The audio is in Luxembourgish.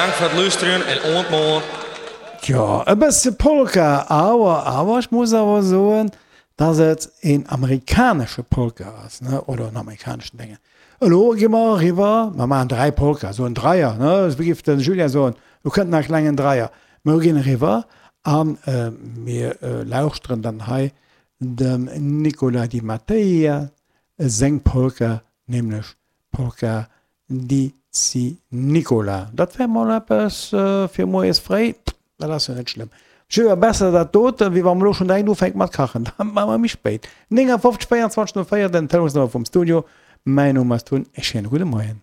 Bedankt foar it lústerjen en oant moarn. Tjo, e bësse Polka, awer, awer ech muss awer soen, dass et een amerikanesche Polka ass, ne, oder en amerikaneschen Déngen. Elo gi mer eriwwer, mer maachen 3 Polka, esou en Dreier, ne, wéi géif de Julien soen, elo kënnt nach e klengen Dreier. Mer ginn eriwwer a mir lauschteren dann hei dem Nicola Di Matteia seng Polka, nämlech Polka Di Zi Nicola. Dat wär mol eppes fir moies fréi, dat ass jo net schlëmm. Jö, besser dat doten, wéi wa mer elo schonn direkt ufänke mat kachen. Dat maache mer méi spéit. 59 24 04, den Telefonsnummer vum Studio. Mäin Numm ass Tun, e schéine gudde Moien.